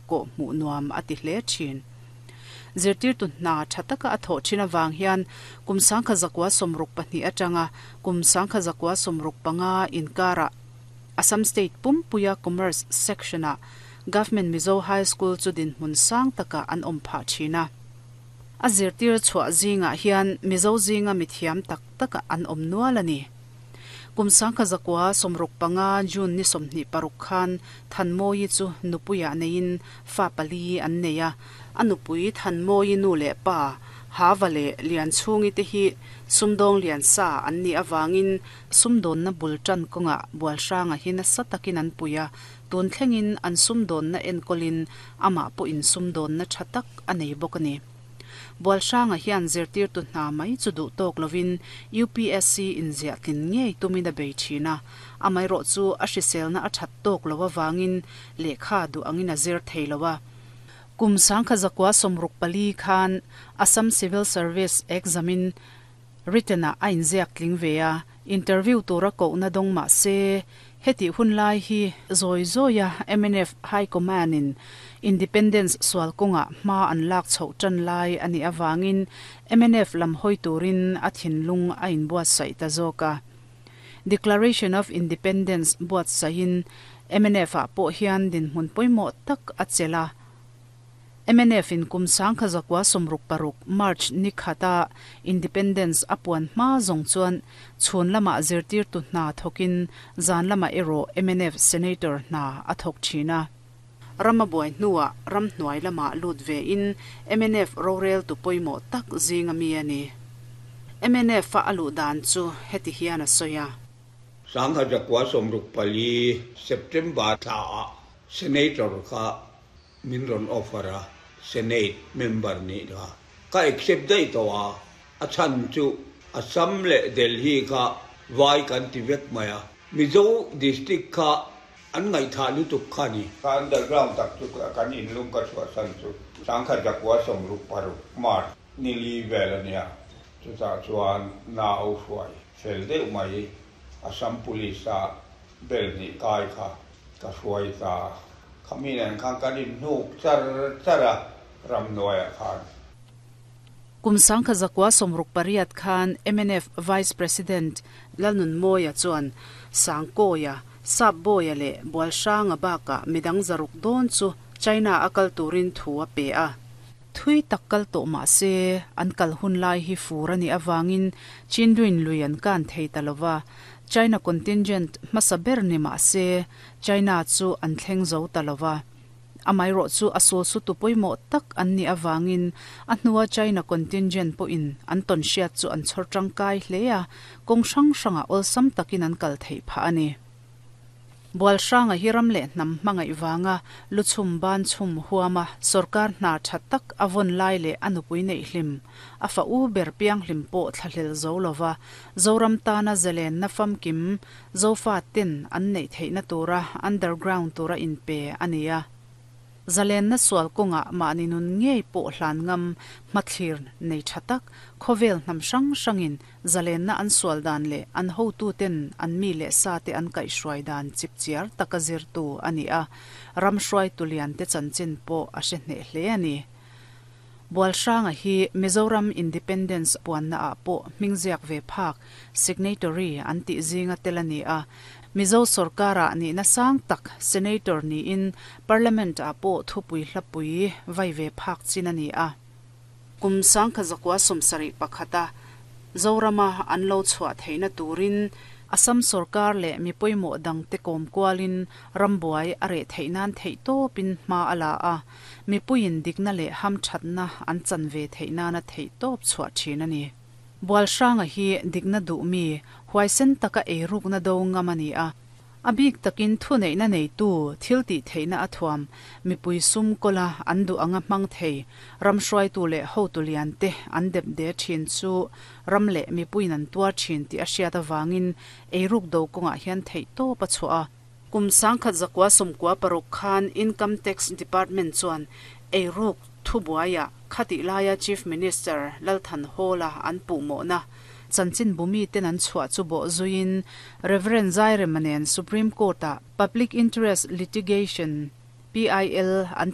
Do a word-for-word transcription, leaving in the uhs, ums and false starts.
Kawh hmuh nuam a ti hle thin. Zirtirtu hna tha taka a thawh thin avang hian kum sangkhat zakua sawmruk pahnih atanga kum sangkhat zakua sawmruk panga inkarah Assam State pumpuia Commerce Section-ah Government Mizo High School chu dinhmun sang taka an awm phah thin a. A zirtir chhuah zingah hian Mizo zinga mithiam tak taka an awm nual a ni. Kum sangkhat zakua sawmruk panga June ni sawmhnih paruk khan Thanmawii chu nupuiah neiin fa pali an nei a. A nupui Thanmawii nu leh pa Hava leh Lianchhungi te hi sumdawng lian sa an nih avangin sumdawnna bul tan kawngah Bualhranga hi nasa takin an pui a. Tun thlengin an sumdawnna enkawlin amah pawhin sumdawnna tha tak a nei bawk a ni. Bualhranga hian zirtirtu hna mai chu duh tawk lovin U P S C inziah tlin ngei tumin a bei thin a. Amaherawh chu a hriselna a that tawk lo avangin lehkha duh angin a zir thei lo a. Kum sangkhat zakua sawmruk pali khan Assam Civil Service exam-in written-ah a inziak tling ve a, interview tura kohna dawng mah se heti hun lai hi zawi zawia M N F High Command-in Independence sual kawngah hma an lak chhoh tan lai a nih avangin M N F lam hawi turin a thinlung a inbuatsaih ta zawk a. Declaration of Independence buatsaihin M N F-ah pawh hian dinhmun pawimawh tak a chelh a. M N F in kum sangkhat zakua sawmruk paruk March ni khata Independence a puan hma zawng chuan chhun lamah zirtirtu hna thawkin zan lamah erawh M N F Senator hna a thawk thin a. Rama buai hnuah ram hnuai lamah lut ve in M N F rorel tu pawimawh tak zinga mi a ni. M N F a aluh dan chu heti hian a sawi a. Sangkhat zakua sawmruk pali September thlaah Senator kha min rawn offer a, Senate member nih kha ka accept daih tawh a, a chhan chu Assam leh Delhi kha vai kan ti vek mai a, Mizo district kha an ngaihthah lutuk kha a ni. Ka underground tak chu kan inlung ka chhuahsan chu sangkhat zakua sawmruk paruk March ni li vel a nia, chutah chuan nau hruai fel deuh mai Assam Police a bel hnih kai kha ka hruai ta. Khami nen khan kan inhnuk char char a ramhnuaiah khan. Kum sangkhat zakua sawmruk pariat khan M N F Vice President Lalnunmawia chuan Sangkawia, Sapbawia leh Bualhranga bakah midang zaruk dawn chu China a kal turin thu a pe a. Thui tak kal tawh mah se an kal hun lai hi fur a nih avangin Chinduin lui an kan thei ta lova. China contingent hmasa ber ni mah se China chu an thleng zo ta lova. Amaherawh chu a sul su tu pawimawh tak an nih avangin a hnua China contingent pawhin an tawn hriat chu an chhawr tangkai hle a, kawng hrang hrangah awlsam takin an kal theih phah a ni. Bualhranga hi ram leh hnam hmangaih vanga luchhum ban chhum huama sarkar hna tha tak a vawn lai leh a nupui neih hlim a fa u ber piang hlim pawh thlahlel zo lova Zoram tana zelen na famkim Zofa ten an neih theihna tura underground tura inpe a ni a. Zalen na sual kawngah mahni nun ngei pawh hlan ngam hmathlir nei tha tak khawvel hnam hrang hrangin zalen na an sual dan leh an hotu ten an mi leh sa te an kaih hruai dan chip chiar taka zirtu a ni a, ram hruai tulian te chanchin pawh a hre hneh hle a ni. Bualhranga hi Mizoram Independence puanna ah pawh hmingziak ve phak signatory an tih zinga tel a ni a. Mizo sarkarah nihna sang tak senator niin parliament ah pawh thupui hlapui vai ve phak chin a ni a. Kum sangkhat zakua sawmsarih pakhata Zorama an lo chhuah theihna turin Assam sarkar leh mi pawimawh dang te kawm kualin rambuai a reh theih nan theih tawpin hma a la a, mipuiin dikna leh ham thatna an chan ve theih nana theih tawp chhuah thin a ni. Bualhranga hi dikna duh mi huaisen taka eirukna do ngam a ni a. A bik takin thu neihna neitu thil tih theihna a thuam mipui sum kawla an duh anga hmang thei ram hruaitu leh hotu lian te an dep de thin chu ram leh mipuiin an tuar thin tih a hriat avangin eiruk do kawngah hian theih tawp a chhuah a. Kum sangkhat zakua sawmkua paruk khan Income Tax Department chuan eiruk thu buaiah khati laia Chief Minister Lalthan Hawla an puhmawhna chanchin bumi ten an chhuah chu bawh zuiin Reverend Zairemanen Supreme Court-ah Public Interest Litigation P I L an